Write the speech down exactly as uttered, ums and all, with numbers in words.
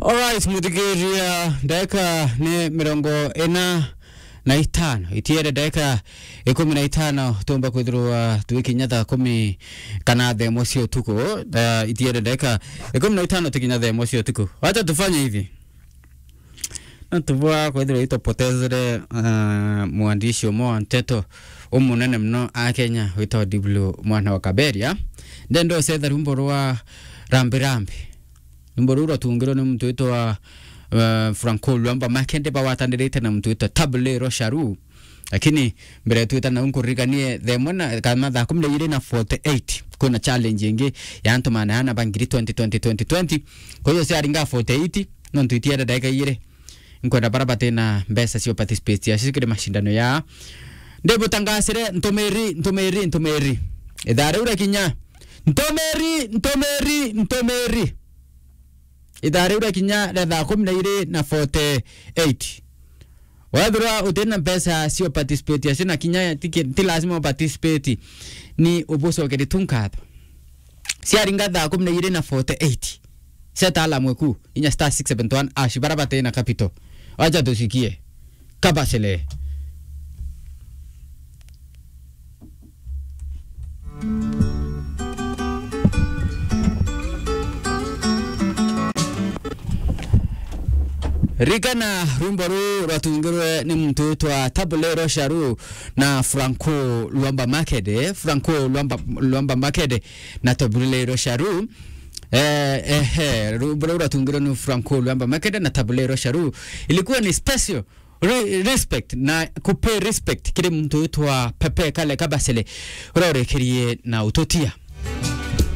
Alright, muthikiria, ndagika ni mirongo ina na itano. Itiere ndagika ikumi na itano, tumba kwithirwa twikinya thaa kumi kana thaa imwe cia utuku. Uh, itiere ndagika ikumi na itano tikinya thaa imwe cia utuku. Wacha tufanye hivi. Na tubwa kwithirwa itupotezere, uh, mwandishi umwe wa nteto umunene muno a Kenya witwa Diblo mwana wa Kaberia. Ndenda ucetha rwimbo rwa Rambi Rambi. Rwimbo ruu rwatungirwe ni muntu witwa, uh, Franco Luamba Makende, bagwatanirite na muntu witwa Tabule Rosharu. Lakini mbere twita nau, nkuririkanie thaa imwe na, kana thaa kumi na ijiri na forty-eight, kwina challenge ingi ya antu maana ana ba ngiri twenty twenty twenty twenty. Kwa hiyo ciaringa forty-eight, nontu itiere ndagika ijiri. Nkwenda bara batina mbeca cia participate acio kiri mashindano ya. Ndibutangasire ntumiri, ntumiri, ntumiri. Ithaa riu riakinya. Ntumiri, ntumiri, ntumiri. Ithaa riu riakinya ria thaa kumi na ijiri na forty-eight. Wethirwa utina mbeca cia participate acio na kinya ti ki-, ti lazima u participate, ni ubucokerie tu nkatho. Ciaringa thaa kumi na ijiri na forty-eight, seta alarm eku, inya star six seven one hash, bara batina capital. Wacha tusikie. Kabasele. Ririkana rwimbo ruu rwatungirwe ni muntu witwa Tabule Rosharu na Franco Luamba Makede. Franco Luamba, Luamba Makede na Tabule Rosharu. Eh, eh, eh, rwimbo ruu rwatungirwe ni Franco Luamba Makede na Tabule Rosharu. Ilikuwa ni special re-, respect na kupay respect kiri muntu witwa Pepe Kale Kabasele, uria urekerie na ututia.